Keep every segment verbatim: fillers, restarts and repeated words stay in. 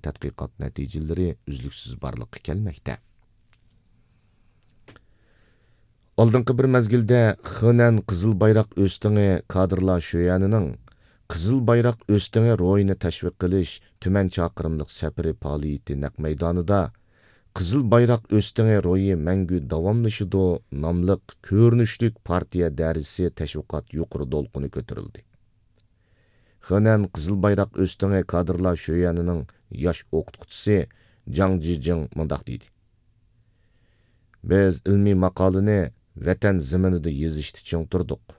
تەتقىقات نەتىجىلىرى ئۈزلۈكسىز بارلىققا كەلمەكتە. ئالدىنقى بىر مەزگىلدە خېنەن قىزىل بايراق ئۆستىڭى كادىرلار شۆيەنىنىڭ قىزىل بايراق ئۆستىڭى روھىنى تەشۋىق قىلىش تۈمەن چاقىرىملىق سەپىرى پائالىيىتى نەق مەيدانىدا قىزىل بايراق ئۆستىڭى روھى مەڭگۈ داۋاملىشىدۇ ناملىق كۆرۈنۈشلۈك پارتىيە دەرسى تەشۋىقات يۇقىرى دولقۇنى كۆتۈرۈلدى. خېنەن قىزىل بايراق ئۆستىڭى كادىرلار شۆيەنىنىڭ ياش ئوقۇتقۇچىسى جاڭ جىجىڭ مۇنداق دېدى: بىز ئىلمىي ماقالىنى ۋەتەن زېمىنىدا يېزىشتا چىڭ تۇردۇق.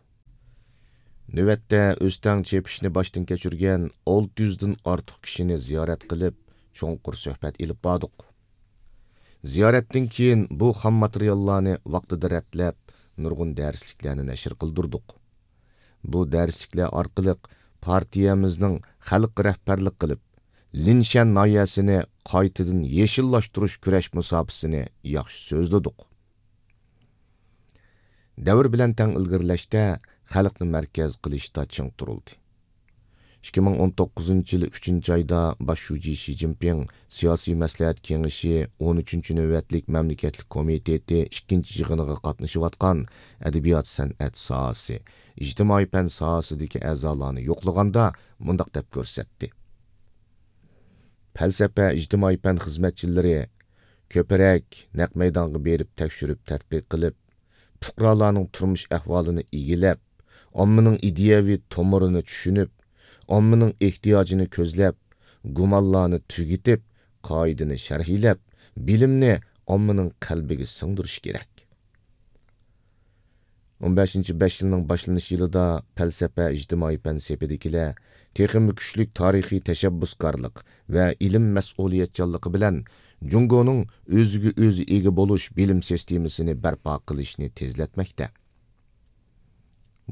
نۆۋەتتە ئۆستەڭ چېپىشنى باشتىن كەچۈرگەن ئالتە يۈزدىن ئارتۇق كىشىنى زىيارەت قىلىپ، چوڭقۇر سۆھبەت ئېلىپ باردۇق. زىيارەتتىن كېيىن بۇ خام ماتېرىياللارنى ۋاقتىدا رەتلەپ، نۇرغۇن دەرسلىكلەرنى نەشر قىلدۇردۇق. بۇ دەرسلىكلەر ئارقىلىق پارتىيەمىزنىڭ خەلققە رەھبەرلىك قىلىپ، لىنشەن ناھىيەسىنى قايتىدىن يېشىللاشتۇرۇش كۈرەش مۇساپىسىنى ياخشى سۆزلىدۇق. دەۋر بىلەن تەڭ ئىلگىرىلەشتە، خەلقنى مەركەز قىلىشتا چىڭ تۇرۇلدى. ئىككى مىڭ ئون توققۇزىنچى يىل ئۈچىنچى ئايدا باش شۇجى شى جىنپىڭ سىياسىي مەسلىھەت كېڭىشى ئون ئۈچىنچى نۆۋەتلىك مەملىكەتلىك كومىتېتى ئىككىنچى يىغىنىغا قاتنىشىۋاتقان ئەدەبىيات سەنئەت ساھەسى، ئىجتىمائىي پەن ساھەسىدىكى ئەزالارنى يوقلىغاندا مۇنداق دەپ كۆرسەتتى: پەلسەپە، ئىجتىمائىي پەن خىزمەتچىلىرى كۆپرەك نەق مەيدانغا بېرىپ تەكشۈرۈپ تەتقىق قىلىپ، پۇقرالارنىڭ تۇرمۇش ئەھۋالىنى ئىگىلەپ، ئاممىنىڭ ئىدىيەۋى تومۇرىنى چۈشىنىپ، ئاممىنىڭ ئېھتىياجىنى كۆزلەپ، گۇمانلارنى تۈگىتىپ، قائىدىنى شەرھلەپ، بىلىمنى ئاممىنىڭ قەلبىگە سىڭدۈرۈشى كېرەك. ئون بەشىنچى بەش يىلنىڭ باشلىنىش يىلىدا پەلسەپە، ئىجتىمائىي پەن سېپىدىكىلەر تېخىمۇ كۈچلۈك تارىخىي تەشەببۇسكارلىق ۋە ئىلىم مەسئۇلىيەتچانلىقى بىلەن جۇڭگونىڭ ئۆزىگە ئۆزى ئىگە بولۇش بىلىم سىستېمىسىنى بەرپا قىلىشنى تېزلەتمەكتە.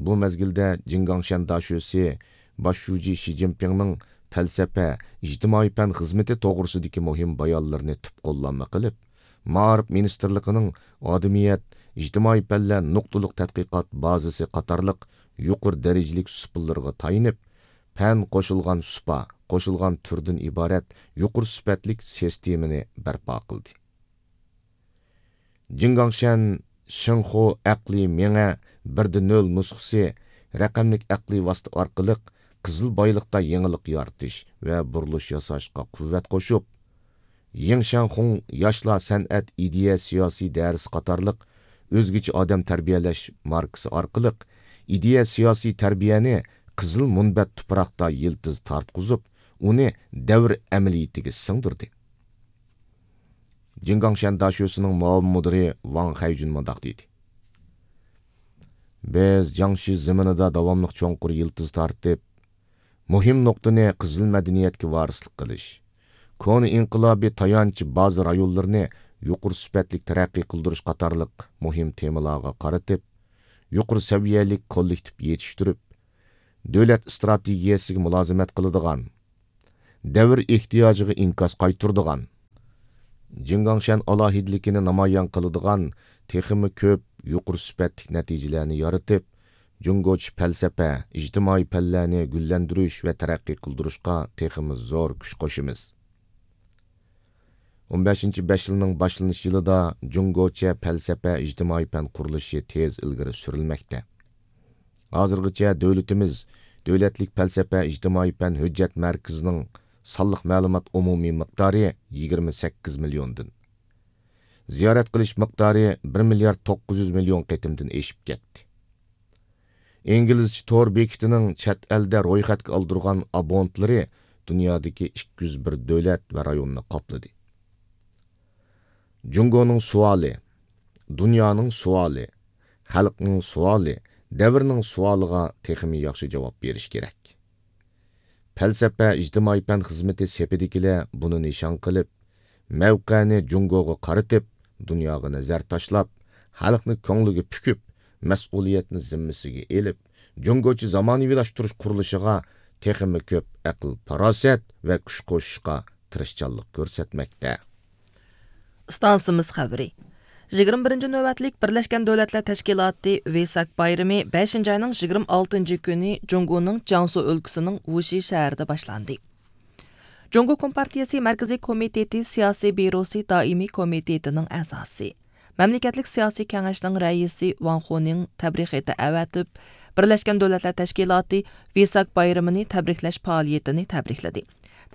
بۇ مەزگىلدە جىڭگاڭشەن داشۆسى باش شۇجى شى جىنپىڭنىڭ پەلسەپە، ئىجتىمائىي پەن خىزمىتى توغرىسىدىكى مۇھىم بايانلىرىنى تۈپ قوللانما قىلىپ، مائارىپ مىنىستىرلىقىنىڭ ئادىمىيەت، ئىجتىمائىي پەنلەر نۇقتىلىق تەتقىقات بازىسى قاتارلىق يۇقىرى دەرىجىلىك سۇپىلىرىغا تايىنىپ، پەن قوشۇلغان سۇپا، قوشۇلغان تۈردىن ئىبارەت يۇقىرى سۈپەتلىك سىستېمىنى بەرپا قىلدى. جىڭگاڭشەن شىنخۇ ئەقلىي مېڭە بىردە نۆل نۇسخىسى رەقەملىك ئەقلىي ۋاسىتە ئارقىلىق قىزىل بايلىقتا يېڭىلىق يارىتىش ۋە بۇرۇلۇش ياساشقا قۇۋۋەت قوشۇپ، يىڭشەنخۇڭ ياشلار سەنئەت ئىدىيە سىياسىي دەرسى قاتارلىق ئۆزگىچە ئادەم تەربىيەلەش ماركىسى ئارقىلىق ئىدىيە سىياسىي تەربىيەنى قىزىل مۇنبەت تۇپراقتا يىلتىز تارتقۇزۇپ، ئۇنى دەۋر ئەمەلىيىتىگە سىڭدۈردى. جىڭگاڭشەن داشۆسىنىڭ مۇئاۋىن مۇدىرى ۋاڭ خەيجۈن مۇنداق دېدى: بىز جياڭشى زېمىنىدا داۋاملىق چوڭقۇر يىلتىز تارتىپ، مۇھىم نۇقتىنى قىزىل مەدەنىيەتكە ۋارىسلىق قىلىش، كونا ئىنقىلابىي تايانچ بازا رايونلىرىنى يۇقىرى سۈپەتلىك تەرەققىي قىلدۇرۇش قاتارلىق مۇھىم تېمىلارغا قارىتىپ، يۇقىرى سەۋىيەلىك كوللېكتىپ يېتىشتۈرۈپ، دۆلەت ئىستراتېگىيەسىگە مۇلازىمەت قىلىدىغان، دەۋر ئېھتىياجىغا ئىنكاس قايتۇرىدىغان، جىڭگاڭشەن ئالاھىدىلىكىنى نامايان قىلىدىغان تېخىمۇ كۆپ يۇقىرى سۈپەتلىك نەتىجىلەرنى يارىتىپ، جۇڭگوچە پەلسەپە، ئىجتىمائىي پەنلەرنى گۈللەندۈرۈش ۋە تەرەققىي قىلدۇرۇشقا تېخىمۇ زور كۈچ قوشىمىز. ئون بەشىنچى بەش يىلنىڭ باشلىنىش يىلىدا جۇڭگوچە پەلسەپە، ئىجتىمائىي پەن قۇرۇلۇشى تېز ئىلگىرى سۈرۈلمەكتە. ھازىرغىچە دۆلىتىمىز دۆلەتلىك پەلسەپە، ئىجتىمائىي پەن ھۆججەت مەركىزىنىڭ سانلىق مەلۇمات ئومۇمىي مىقدارى يىگىرمە سەككىز مىليوندىن، زىيارەت قىلىش مىقدارى بىر مىليارد توققۇز يۈز مىليون قېتىمدىن ئېشىپ كەتتى. ئىنگلىزچە تور بېكىتىنىڭ چەت ئەلدە رويخەتكە ئالدۇرغان ئابونتلىرى دۇنيادىكى ئىككى يۈز بىر دۆلەت ۋە رايوننى قاپلىدى. جۇڭگونىڭ سوئالى، دۇنيانىڭ سوئالى، خەلقنىڭ سوئالى، دەۋرنىڭ سوئالىغا تېخىمۇ ياخشى جاۋاب بېرىش كېرەك. پەلسەپە، ئىجتىمائىي پەن خىزمىتى سېپىدىكىلەر بۇنى نىشان قىلىپ، مەۋقەنى جۇڭگوغا قارىتىپ، دۇنياغا نەزەر تاشلاپ، خەلقنى كۆڭلىگە پۈكۈپ، مەسئۇلىيەتنى زىممىسىگە ئېلىپ، جۇڭگوچە زامانىۋىلاشتۇرۇش قۇرۇلۇشىغا تېخىمۇ كۆپ ئەقىل-پاراسەت ۋە كۈچ قوشۇشقا تىرىشچانلىق كۆرسەتمەكتە. ئىستانسىمىز خەۋىرى. يىگىرمە بىرىنچى نۆۋەتلىك بىرلەشكەن دۆلەتلەر تەشكىلاتى ۋېساك بايرىمى بەشىنچى ئاينىڭ يىگىرمە ئالتىنچى كۈنى جۇڭگونىڭ جياڭسۇ ئۆلكىسىنىڭ ۋۇشى شەھىرىدە باشلاندى. جۇڭگو كومپارتىيىسى مەركىزىي كومىتېتى سىياسىي بيۇروسى دائىمىي كومىتېتىنىڭ ئەزاسى، مەملىكەتلىك سىياسىي كېڭەشنىڭ رەئىسى ۋاڭ خۇنىڭ تەبرىك خېتى ئەۋەتىپ، بىرلەشكەن دۆلەتلەر تەشكىلاتى ۋېساك بايرىمىنى تەبرىكلەش پائالىيىتىنى تەبرىكلىدى.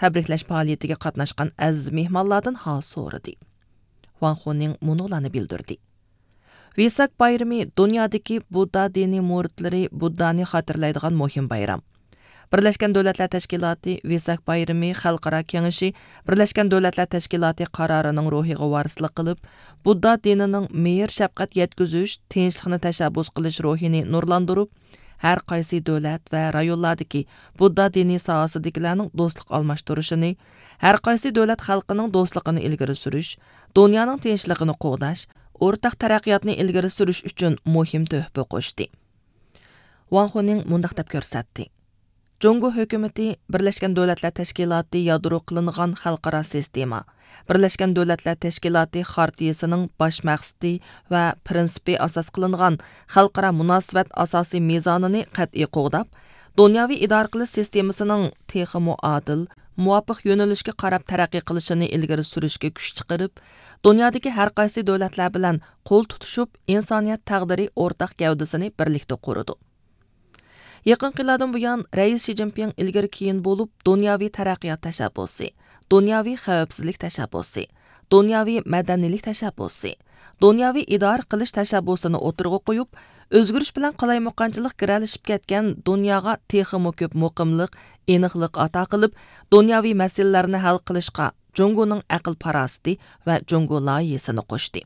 تەبرىكلەش پائالىيىتىگە قاتناشقان ئەزىز مېھمانلاردىن ھال سورىدى. ۋاڭ خۇنىڭ مۇنۇلارنى بىلدۈردى. ۋېساك بايرىمى دۇنيادىكى بۇددا دىنىي مۇرىتلىرى بۇددانى خاتىرىلەيدىغان مۇھىم بايرام. بىرلەشكەن دۆلەتلەر تەشكىلاتى ۋېساك بايرىمى خەلقئارا كېڭىشى بىرلەشكەن دۆلەتلەر تەشكىلاتى قارارىنىڭ روھىغا ۋارىسلىق قىلىپ، بۇددا دىنىنىڭ مېھىر-شەپقەت يەتكۈزۈش، تىنچلىقنى تەشەببۇس قىلىش روھىنى نۇرلاندۇرۇپ، ھەر قايسى دۆلەت ۋە رايونلاردىكى بۇددا دىنىي ساھەسىدىكىلەرنىڭ دوستلۇق ئالماشتۇرۇشىنى، ھەر قايسى دۆلەت خەلقىنىڭ دوستلۇقىنى ئىلگىرى سۈرۈش، دۇنيانىڭ تىنچلىقىنى قوغداش، ئورتاق تەرەققىياتنى ئىلگىرى سۈرۈش ئۈچۈن مۇھىم تۆھپە قوشتى. ۋاڭ خۇنىڭ مۇنداق دەپ كۆرسەتتى: جۇڭگو ھۆكۈمىتى بىرلەشكەن دۆلەتلەر تەشكىلاتى يادرو قىلىنغان خەلقئارا سىستېما، بىرلەشكەن دۆلەتلەر تەشكىلاتى خارتىيىسىنىڭ باش مەقسىتى ۋە پىرىنسىپى ئاساس قىلىنغان خەلقئارا مۇناسىۋەت ئاساسىي مىزانىنى قەتئىي قوغداپ، دۇنياۋى ئىدارە قىلىش سىستېمىسىنىڭ تېخىمۇ ئادىل، مۇۋاپىق يۆنىلىشكە قاراپ تەرەققىي قىلىشىنى ئىلگىرى سۈرۈشكە كۈچ چىقىرىپ، دۇنيادىكى ھەر قايسى دۆلەتلەر بىلەن قول تۇتۇشۇپ، ئىنسانىيەت تەقدىرى ئورتاق گەۋدىسىنى بىرلىكتە قۇرىدۇ. يېقىنقى يىللاردىن بۇيان، رەئىس شى جىنپىڭ ئىلگىرى كېيىن بولۇپ، دۇنياۋى تەرەققىيات تەشەببۇسى، دۇنياۋى خەۋپسىزلىك تەشەببۇسى، دۇنياۋى مەدەنىيلىك تەشەببۇسى، دۇنياۋى ئىدارە قىلىش تەشەببۇسىنى ئوتتۇرىغا قويۇپ، ئۆزگىرىش بىلەن قالايمىقانچىلىق گىرەلىشىپ كەتكەن دۇنياغا تېخىمۇ كۆپ مۇقىملىق، ئېنىقلىق ئاتا قىلىپ، دۇنياۋى مەسىلىلەرنى ھەل قىلىشقا جۇڭگونىڭ ئەقىل-پاراسىتى ۋە جۇڭگو لايىھىسىنى قوشتى.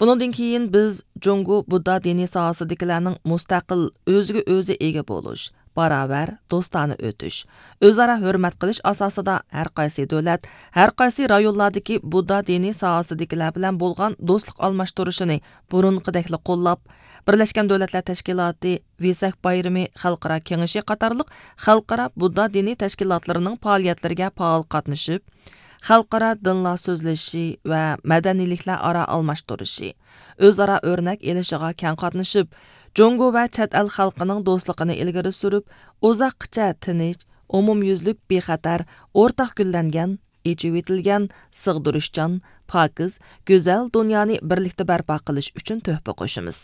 بۇنىڭدىن كېيىن بىز جۇڭگو بۇددا دىنى ساھەسىدىكىلەرنىڭ مۇستەقىل، ئۆزىگە ئۆزى ئىگە بولۇش، باراۋەر، دوستانە ئۆتۈش، ئۆزئارا ھۆرمەت قىلىش ئاساسىدا ھەر قايسى دۆلەت، ھەر قايسى رايونلاردىكى بۇددا دىنى ساھەسىدىكىلەر بىلەن بولغان دوستلۇق ئالماشتۇرۇشىنى بۇرۇنقىدەكلا قوللاپ، بىرلەشكەن دۆلەتلەر تەشكىلاتى ۋېساك بايرىمى خەلقئارا كېڭىشى قاتارلىق خەلقئارا بۇددا دىنى تەشكىلاتلىرىنىڭ پائالىيەتلىرىگە پائال قاتنىشىپ، خەلقئارا دىنلار سۆزلىشىشى ۋە مەدەنىيلىكلەر ئارا ئالماشتۇرۇشى، ئۆزئارا ئۆرنەك ئېلىشىغا كەڭ قاتنىشىپ، جۇڭگو ۋە چەت ئەل خەلقىنىڭ دوستلۇقىنى ئىلگىرى سۈرۈپ، ئۇزاققىچە تىنچ، ئومۇميۈزلۈك بىخەتەر، ئورتاق گۈللەنگەن، ئېچىۋېتىلگەن، سىغدۇرۇشچان، پاكىز، گۈزەل دۇنيانى بىرلىكتە بەرپا قىلىش ئۈچۈن تۆھپە قوشىمىز.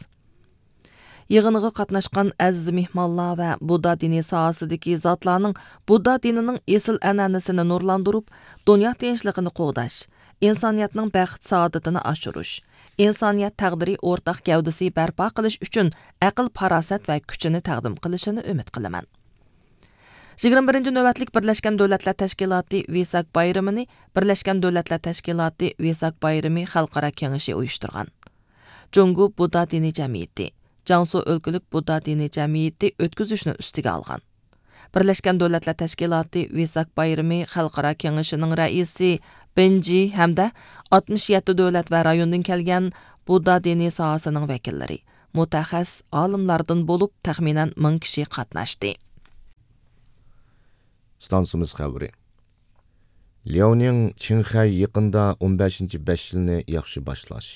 يىغىنغا قاتناشقان ئەزىز مېھمانلار ۋە بۇددا دىنى ساھەسىدىكى زاتلارنىڭ بۇددا دىنىنىڭ ئېسىل ئەنئەنىسىنى نۇرلاندۇرۇپ، دۇنيا تىنچلىقىنى قوغداش، ئىنسانىيەتنىڭ بەخت-سائادىتىنى ئاشۇرۇش، ئىنسانىيەت تەقدىرى ئورتاق گەۋدىسى بەرپا قىلىش ئۈچۈن ئەقىل-پاراسەت ۋە كۈچىنى تەقدىم قىلىشىنى ئۈمىد قىلىمەن. يىگىرمە بىرىنچى نۆۋەتلىك بىرلەشكەن دۆلەتلەر تەشكىلاتى ۋېساك بايرىمىنى بىرلەشكەن دۆلەتلەر تەشكىلاتى ۋېساك بايرىمى خەلقئارا كېڭىشى ئۇيۇشتۇرغان. جۇڭگو بۇددا دىنىي جەمئىيىتى، جياڭسۇ ئۆلكىلىك بۇددا دىنىي جەمئىيىتى ئۆتكۈزۈشنى ئۈستىگە ئالغان. بىرلەشكەن دۆلەتلەر تەشكىلاتى ۋېساك بايرىمى خەلقئارا كېڭىشىنىڭ رەئىسى بېن جى ھەمدە ئاتمىش يەتتە دۆلەت ۋە رايوندىن كەلگەن بۇددا دىنىي ساھەسىنىڭ ۋەكىللىرى، مۇتەخەسسىس ئالىملاردىن بولۇپ تەخمىنەن مىڭ كىشى قاتناشتى. ئىستانسىمىز خەۋىرى. لياۋنىڭ چىڭخەي يېقىندا ئون بەشىنچى بەش يىلنى ياخشى باشلاش،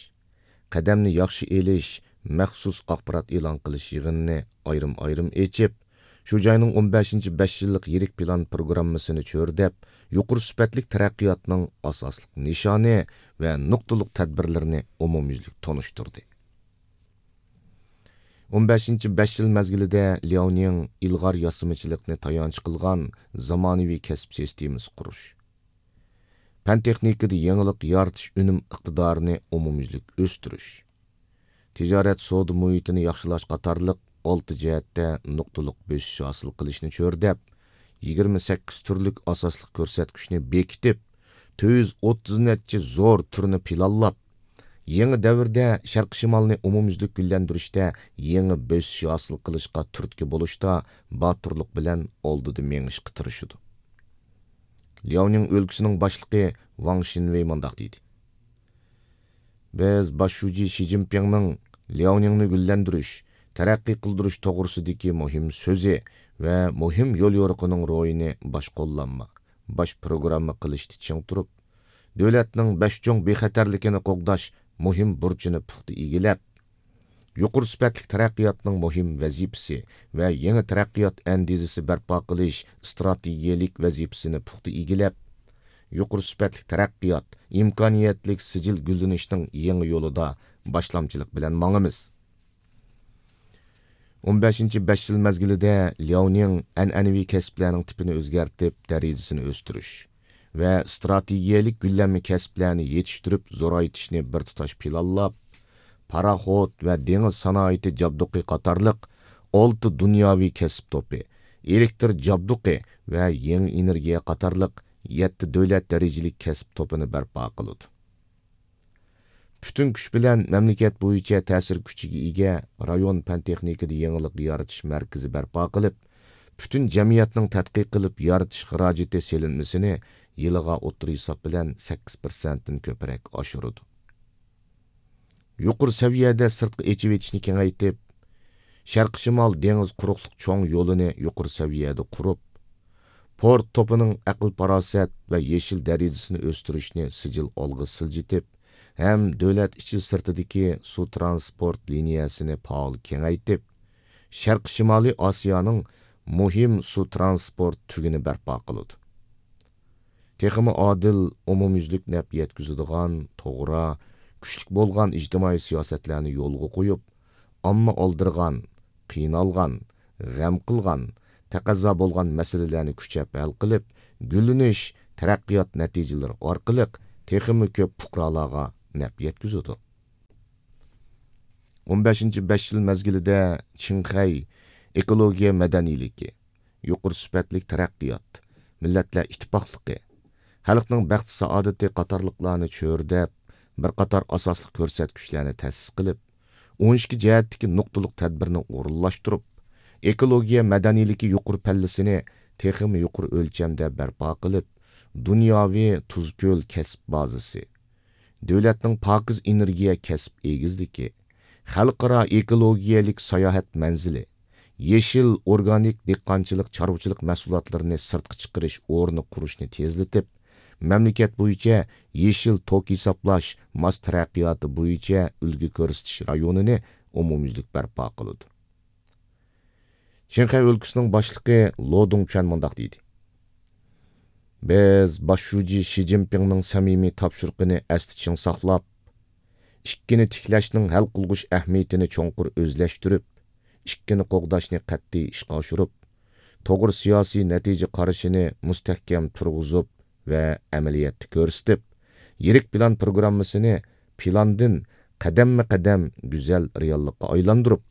قەدەمنى ياخشى ئېلىش مەخسۇس ئاخبارات ئېلان قىلىش يىغىنىنى ئايرىم-ئايرىم ئېچىپ، شۇ جاينىڭ ئون بەشىنچى بەش يىللىق يىرىك پىلان پروگراممىسىنى چۆرىدەپ، يۇقىرى سۈپەتلىك تەرەققىياتنىڭ ئاساسلىق نىشانى ۋە نۇقتىلىق تەدبىرلىرىنى ئومۇميۈزلۈك تونۇشتۇردى. ئون بەشىنچى بەش يىل مەزگىلىدە لياۋنىڭ ئىلغار ياسىمىچىلىقنى تايانچ قىلغان زامانىۋى كەسىپ سىستېمىسى قۇرۇش، پەن-تېخنىكىدا يېڭىلىق يارىتىش ئۈنۈم ئىقتىدارىنى ئومۇميۈزلۈك ئۆستۈرۈش، تىجارەت سودا مۇھىتىنى ياخشىلاش قاتارلىق ئالتە جەھەتتە نۇقتىلىق بۆسۈش ھاسىل قىلىشنى چۆرىدەپ، يىگىرمە سەككىز تۈرلۈك ئاساسلىق كۆرسەتكۈچنى بېكىتىپ، تۆت يۈز ئوتتۇز نەچچە زور تۈرنى پىلانلاپ، يېڭى دەۋردە شەرقىي شىمالنى ئومۇميۈزلۈك گۈللەندۈرۈشتە يېڭى بۆسۈش ھاسىل قىلىشقا تۈرتكە بولۇشتا باتۇرلۇق بىلەن ئالدىدا مېڭىشقا تىرىشىدۇ. لياۋنىڭ ئۆلكىسىنىڭ باشلىقى ۋاڭ شىنۋېي مۇنداق دېدى: بىز باش شۇجى شى جىنپىڭنىڭ لياۋنىڭنى گۈللەندۈرۈش، تەرەققىي قىلدۇرۇش توغرىسىدىكى مۇھىم سۆزى ۋە مۇھىم يوليورۇقىنىڭ روھىنى باش قوللانما، باش پروگرامما قىلىشتا چىڭ تۇرۇپ، دۆلەتنىڭ بەش چوڭ بىخەتەرلىكىنى قوغداش مۇھىم بۇرچىنى پۇختا ئىگىلەپ، يۇقىرى سۈپەتلىك تەرەققىياتنىڭ مۇھىم ۋەزىپىسى ۋە يېڭى تەرەققىيات ئەندىزىسى بەرپا قىلىش ئىستراتېگىيەلىك ۋەزىپىسىنى پۇختا ئىگىلەپ، يۇقىرى سۈپەتلىك تەرەققىيات، ئىمكانىيەتلىك سىجىل گۈللىنىشنىڭ يېڭى يولىدا باشلامچىلىق بىلەن ماڭىمىز. ئون بەشىنچى بەش يىل مەزگىلىدە لياۋنىڭ ئەنئەنىۋى كەسىپلەرنىڭ تىپىنى ئۆزگەرتىپ، دەرىجىسىنى ئۆستۈرۈش ۋە ئىستراتېگىيەلىك گۈللەنمە كەسىپلەرنى يېتىشتۈرۈپ زورايتىشنى بىر تۇتاش پىلانلاپ، پاراخوت ۋە دېڭىز سانائىتى جابدۇقى قاتارلىق ئالتە دۇنياۋى كەسىپ توپى، ئېلېكتر جابدۇقى ۋە يېڭى ئېنېرگىيە قاتارلىق يەتتە دۆلەت دەرىجىلىك كەسىپ توپىنى بەرپا قىلىدۇ. پۈتۈن كۈچ بىلەن مەملىكەت بويىچە تەسىر كۈچىگە ئىگە رايون پەن تېخنىكىدا يېڭىلىق يارىتىش مەركىزى بەرپا قىلىپ، پۈتۈن جەمئىيەتنىڭ تەتقىق قىلىپ يارىتىش خىراجىتى سېلىنمىسىنى يىلىغا ئوتتۇرا ھېساب بىلەن سەككىز پىرسەنتتىن كۆپرەك ئاشۇرىدۇ. يۇقىرى سەۋىيەدە سىرتقا ئېچىۋېتىشنى كېڭەيتىپ، شەرقىي شىمال دېڭىز قۇرۇقلۇق چوڭ يولىنى يۇقىرى سەۋىيەدە قۇرۇپ، پورت توپىنىڭ ئەقىل-پاراسەت ۋە يېشىل دەرىجىسىنى ئۆستۈرۈشنى سىجىل ئالغا سىلجىتىپ ھەم دۆلەت ئىچى سىرتىدىكى سۇ ترانسپورت لىنىيەسىنى پائال كېڭەيتىپ، شەرقىي شىمالىي ئاسىيانىڭ مۇھىم سۇ ترانسپورت تۈگۈنى بەرپا قىلىدۇ. تېخىمۇ ئادىل، ئومۇميۈزلۈك نەپ يەتكۈزىدىغان، توغرا، كۈچلۈك بولغان ئىجتىمائىي سىياسەتلەرنى يولغا قويۇپ، ئامما ئالدىرىغان، قىينالغان، غەم قىلغان، تەقەززا بولغان مەسىلىلەرنى كۈچەپ ھەل قىلىپ، گۈللىنىش، تەرەققىيات نەتىجىلىرى ئارقىلىق تېخىمۇ كۆپ پۇقرالارغا نەپ يەتكۈزىدۇ. ئون بەشىنچى بەش يىل مەزگىلىدە چىڭخەي ئېكولوگىيە مەدەنىيلىكى، يۇقىرى سۈپەتلىك تەرەققىيات، مىللەتلەر ئىتتىپاقلىقى، خەلقنىڭ بەخت-سائادىتى قاتارلىقلارنى چۆرىدەپ، بىر قاتار ئاساسلىق كۆرسەتكۈچلەرنى تەسىس قىلىپ، ئون ئىككى جەھەتتىكى نۇقتىلىق تەدبىرنى ئورۇنلاشتۇرۇپ، ئېكولوگىيە مەدەنىيلىكى يۇقىرى پەللىسىنى تېخىمۇ يۇقىرى ئۆلچەمدە بەرپا قىلىپ، دۇنياۋى تۇزكۆل كەسىپ بازىسى، دۆلەتنىڭ پاكىز ئېنېرگىيە كەسىپ ئېگىزلىكى، خەلقئارا ئېكولوگىيەلىك ساياھەت مەنزىلى، يېشىل ئورگانىك دېھقانچىلىق، چارۋىچىلىق مەھسۇلاتلىرىنى سىرتقا چىقىرىش ئورنى قۇرۇشنى تېزلىتىپ، مەملىكەت بويىچە يېشىل توك ھېسابلاش، ماس تەرەققىياتى بويىچە ئۈلگە كۆرسىتىش رايونىنى ئومۇميۈزلۈك بەرپا قىلىدۇ. چىڭخەي ئۆلكىسىنىڭ باشلىقى لو دۇڭچۈەن مۇنداق دېدى: بىز باش شۇجى شى جىنپىڭنىڭ سەمىمىي تاپشۇرۇقىنى ئەستە چىڭ ساقلاپ، ئىككىنى تىكلەشنىڭ ھەل قىلغۇچ ئەھمىيىتىنى چوڭقۇر ئۆزلەشتۈرۈپ، ئىككىنى قوغداشنى قەتئىي ئىشقا ئاشۇرۇپ، توغرا سىياسىي نەتىجە قارىشىنى مۇستەھكەم تۇرغۇزۇپ ۋە ئەمەلىيەتتە كۆرسىتىپ، يىرىك پىلان پروگراممىسىنى پىلاندىن قەدەممۇ قەدەم گۈزەل رېئاللىققا ئايلاندۇرۇپ،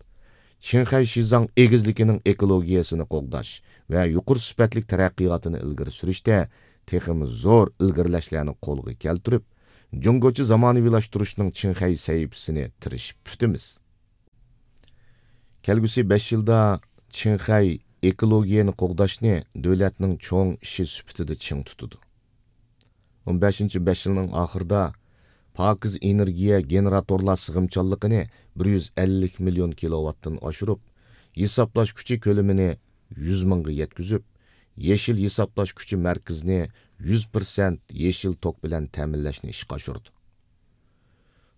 چىڭخەي شىزاڭ ئېگىزلىكىنىڭ ئېكولوگىيەسىنى قوغداش ۋە يۇقىرى سۈپەتلىك تەرەققىياتىنى ئىلگىرى سۈرۈشتە تېخىمۇ زور ئىلگىرىلەشلەرنى قولغا كەلتۈرۈپ، جۇڭگوچە زامانىۋىلاشتۇرۇشنىڭ چىڭخەي سەھىپىسىنى تىرىشىپ پۈتىمىز. كەلگۈسى بەش يىلدا چىڭخەي ئېكولوگىيەنى قوغداشنى دۆلەتنىڭ چوڭ ئىشى سۈپىتىدە چىڭ تۇتىدۇ. ئون بەشىنچى بەش يىلنىڭ ئاخىرىدا پاكىز ئېنېرگىيە گېنېراتورلار سىغىمچانلىقىنى بىر يۈز ئەللىك مىليون كىلوۋاتتىن ئاشۇرۇپ، ھېسابلاش كۈچى كۆلىمىنى يۈز مىڭغا يەتكۈزۈپ، يېشىل ھېسابلاش كۈچى مەركىزىنى يۈز پىرسەنت يېشىل توك بىلەن تەمىنلەشنى ئىشقا ئاشۇرىدۇ.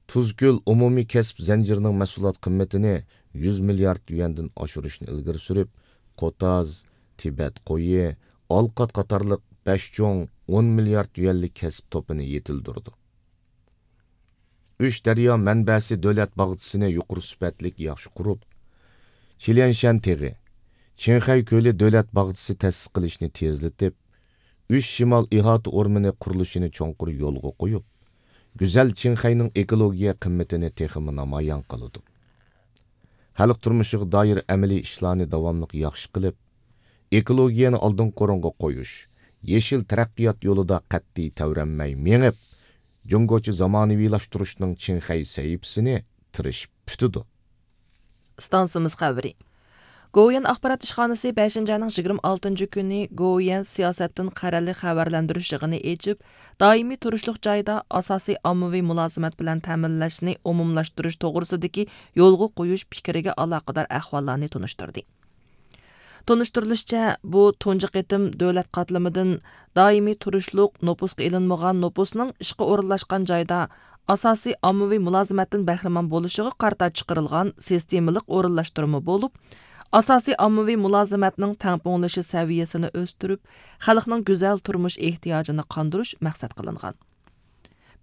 تۇزكۆل ئومۇمىي كەسىپ زەنجىرىنىڭ مەھسۇلات قىممىتىنى يۈز مىليارد يۈەندىن ئاشۇرۇشنى ئىلگىرى سۈرۈپ، قوتاز، تىبەت قويى، ئالقات قاتارلىق بەش چوڭ ئون مىليارد يۈەنلىك كەسىپ توپىنى يېتىلدۈرىدۇ. ئۈچ دەريا مەنبەسى دۆلەت باغچىسىنى يۇقىرى سۈپەتلىك ياخشى قۇرۇپ، چىليەنشەن تېغى، چىڭخەي كۆلى دۆلەت باغچىسى تەسىس قىلىشنى تېزلىتىپ، ئۈچ شىمال ئىھاتە ئورمىنى قۇرۇلۇشىنى چوڭقۇر يولغا قويۇپ، گۈزەل چىڭخەينىڭ ئېكولوگىيە قىممىتىنى تېخىمۇ نامايان قىلىدۇ. خەلق تۇرمۇشىغا دائىر ئەمەلىي ئىشلارنى داۋاملىق ياخشى قىلىپ، ئېكولوگىيەنى ئالدىنقى ئورۇنغا قويۇش، يېشىل تەرەققىيات يولىدا قەتئىي تەۋرەنمەي مېڭىپ، جۇڭگوچە زامانىۋىلاشتۇرۇشنىڭ چىڭخەي سەھىپىسىنى تىرىشىپ پۈتىدۇ. ئىستانسىمىز خەۋىرى. گوۋۇيۈەن ئاخبارات ئىشخانىسى بەشىنچى ئاينىڭ يىگىرمە ئالتىنچى كۈنى گوۋۇيۈەن سىياسەتتىن قەرەللىك خەۋەرلەندۈرۈش يىغىنى ئېچىپ، دائىمىي تۇرۇشلۇق جايدا ئاساسىي ئاممىۋى مۇلازىمەت بىلەن تەمىنلەشنى ئومۇملاشتۇرۇش توغرىسىدىكى يولغا قويۇش پىكرىگە ئالاقىدار ئەھۋاللارنى تونۇشتۇردى. تونۇشتۇرۇلۇشىچە، بۇ تۇنجى قېتىم دۆلەت قاتلىمىدىن دائىمىي تۇرۇشلۇق نوپۇسقا ئېلىنمىغان نوپۇسنىڭ ئىشقا ئورۇنلاشقان جايدا ئاساسىي ئاممىۋى مۇلازىمەتتىن بەھرىمەن بولۇشىغا قارىتا چىقىرىلغان سىستېمىلىق ئورۇنلاشتۇرما بولۇپ، ئاساسىي ئاممىۋى مۇلازىمەتنىڭ تەڭپۇڭلىشىش سەۋىيەسىنى ئۆستۈرۈپ، خەلقنىڭ گۈزەل تۇرمۇش ئېھتىياجىنى قاندۇرۇش مەقسەت قىلىنغان.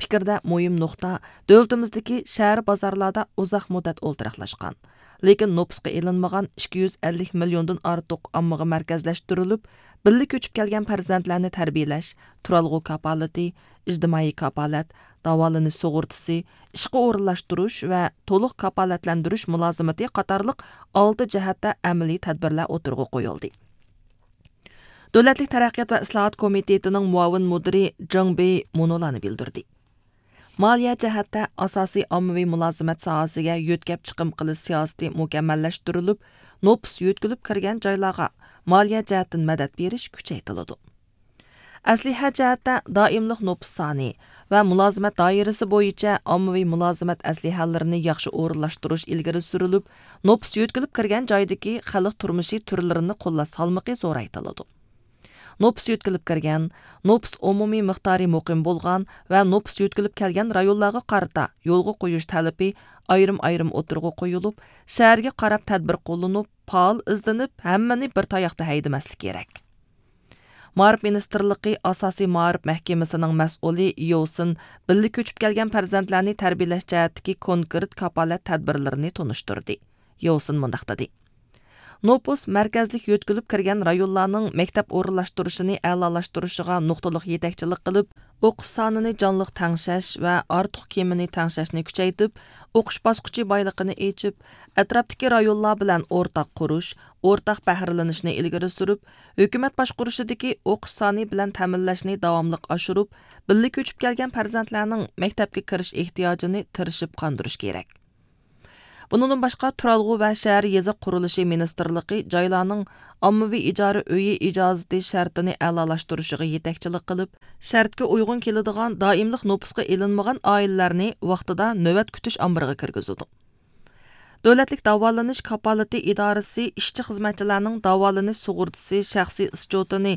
پىكىردە مۇھىم نۇقتا، دۆلىتىمىزدىكى شەھەر بازارلاردا ئۇزاق مۇددەت ئولتۇراقلاشقان، لېكىن نوپۇسقا ئېلىنمىغان ئىككى يۈز ئەللىك مىليوندىن ئارتۇق ئاممىغا مەركەزلەشتۈرۈلۈپ، بىللە كۆچۈپ كەلگەن پەرزەنتلەرنى تەربىيەلەش، تۇرالغۇ كاپالىتى، ئىجتىمائىي كاپالەت، داۋالىنىش سۇغۇرتىسى، ئىشقا ئورۇنلاشتۇرۇش ۋە تولۇق كاپالەتلەندۈرۈش مۇلازىمىتى قاتارلىق ئالتە جەھەتتە ئەمەلىي تەدبىرلەر ئوتتۇرىغا قويۇلدى. دۆلەتلىك تەرەققىيات ۋە ئىسلاھات كومىتېتىنىڭ مۇئاۋىن مۇدىرى جېڭ بېي مۇنۇلارنى بىلدۈردى. مالىيە جەھەتتە ئاساسىي ئاممىۋى مۇلازىمەت ساھەسىگە يۆتكەپ چىقىم قىلىش سىياسىتى مۇكەممەللەشتۈرۈلۈپ، نوپۇس يۆتكىلىپ كىرگەن جايلارغا مالىيە جەھەتتىن مەدەت بېرىش كۈچەيتىلىدۇ. ئەسلىھە جەھەتتە دائىملىق نوپۇس سانى ۋە مۇلازىمەت دائىرىسى بويىچە ئاممىۋى مۇلازىمەت ئەسلىھەلىرىنى ياخشى ئورۇنلاشتۇرۇش ئىلگىرى سۈرۈلۈپ، نوپۇس يۆتكىلىپ كىرگەن جايدىكى خەلق تۇرمۇشى تۈرلىرىنى قوللاش سالمىقى زورايتىلىدۇ. نوپۇس يۆتكىلىپ كىرگەن، نوپۇس ئومۇمىي مىقدارى مۇقىم بولغان ۋە نوپۇس يۆتكىلىپ كەلگەن رايونلارغا قارىتا يولغا قويۇش تەلىپى ئايرىم-ئايرىم ئوتتۇرىغا قويۇلۇپ، شەھەرگە قاراپ تەدبىر قوللىنىپ، پائال ئىزدىنىپ، ھەممىنى بىر تاياقتا ھەيدىمەسلىك كېرەك. مائارىپ مىنىستىرلىقى ئاساسىي مائارىپ مەھكىمىسىنىڭ مەسئۇلى يوسىن بىللە كۆچۈپ كەلگەن پەرزەنتلەرنى تەربىيەلەش جەھەتتىكى كونكرېت كاپالەت تەدبىرلىرىنى تونۇشتۇردى. يوسىن مۇنداق دېدى: نوپۇس مەركەزلىك يۆتكىلىپ كىرگەن رايونلارنىڭ مەكتەپ ئورۇنلاشتۇرۇشىنى ئەلالاشتۇرۇشىغا نۇقتىلىق يېتەكچىلىك قىلىپ، ئوقۇش سانىنى جانلىق تەڭشەش ۋە ئارتۇق كېمىنى تەڭشەشنى كۈچەيتىپ، ئوقۇش باسقۇچى بايلىقىنى ئېچىپ، ئەتراپتىكى رايونلار بىلەن ئورتاق قۇرۇش، ئورتاق بەھرىلىنىشنى ئىلگىرى سۈرۈپ، ھۆكۈمەت باشقۇرۇشىدىكى ئوقۇش سانى بىلەن تەمىنلەشنى داۋاملىق ئاشۇرۇپ، بىللە كۆچۈپ كەلگەن پەرزەنتلەرنىڭ مەكتەپكە كىرىش ئېھتىياجىنى تىرىشىپ قاندۇرۇش كېرەك. بۇنىڭدىن باشقا، تۇرالغۇ ۋە شەھەر يېزا قۇرۇلۇشى مىنىستىرلىقى جايلارنىڭ ئاممىۋى ئىجارە ئۆيى ئىجازىتى شەرتىنى ئەلالاشتۇرۇشىغا يېتەكچىلىك قىلىپ، شەرتكە ئۇيغۇن كېلىدىغان دائىملىق نوپۇسقا ئېلىنمىغان ئائىلىلەرنى ۋاقتىدا نۆۋەت كۈتۈش ئامبىرىغا كىرگۈزىدۇ. دۆلەتلىك داۋالىنىش كاپالىتى ئىدارىسى ئىشچى-خىزمەتچىلەرنىڭ داۋالىنىش سۇغۇرتىسى شەخسىي ئىسچوتىنى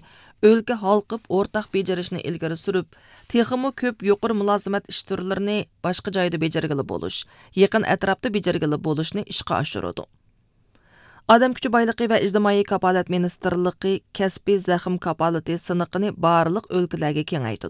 ئۆلكە ھالقىپ ئورتاق بېجىرىشنى ئىلگىرى سۈرۈپ، تېخىمۇ كۆپ يۇقىرى مۇلازىمەت ئىش تۈرلىرىنى باشقا جايدا بېجىرگىلى بولۇش، يېقىن ئەتراپتا بېجىرگىلى بولۇشنى ئىشقا ئاشۇرىدۇ. ئادەم كۈچى بايلىقى ۋە ئىجتىمائىي كاپالەت مىنىستىرلىقى كەسپىي زەخىم كاپالىتى سىنىقىنى بارلىق ئۆلكىلەرگە كېڭەيتىدۇ.